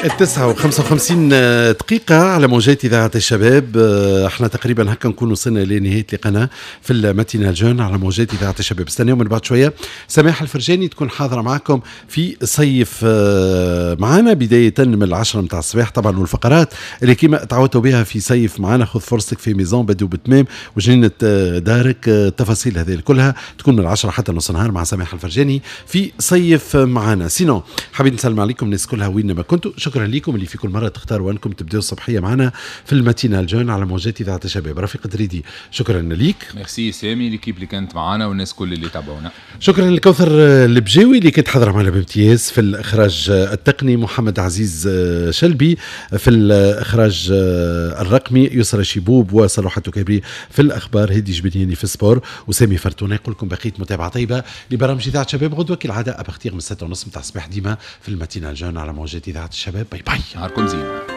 9:55 على موجات إذاعة الشباب. احنا تقريبا هكا نكون وصلنا لنهاية لقانا في ال matinale jeune على موجات إذاعة الشباب. استناو من بعد شوية سماح الفرجاني تكون حاضرة معكم في صيف معنا بداية من 10 متاع الصباح طبعا، والفقرات اللي كما تعودتوا بها في صيف معنا، خذ فرصتك في maison بدو بتمام وجنينة دارك، التفاصيل هذه كلها تكون من 10 حتى نص نهار مع سماح الفرجاني في صيف معنا. sinon حبيت نسلم عليكم الناس كلها وين ما كنتوا، شكرا لكم اللي في كل مرة تختاروا انكم تبداوا الصبحية معنا في ال matinale jeune على موجات اذاعة الشباب. رفيق دريدي شكرا ليك. ميرسي سامي، l'équipe اللي كانت معنا والناس كل اللي تابعونا. شكرا لكوثر البجاوي اللي كانت حاضره معنا بامتياز في الاخراج التقني، محمد عزيز شلبي في الاخراج الرقمي، يسرى شيبوب وصلاح التكابري في الاخبار، هدي جبنياني في ال sport، وسامي فرتونه. يقول لكم بقية متابعه طيبة لبرامج اذاعة شباب غدوه كالعادة à partir من 6:30 نتاع الصباح ديما في ال matinale jeune على موجات اذاعة الشباب. bye bye. نهاركم زين.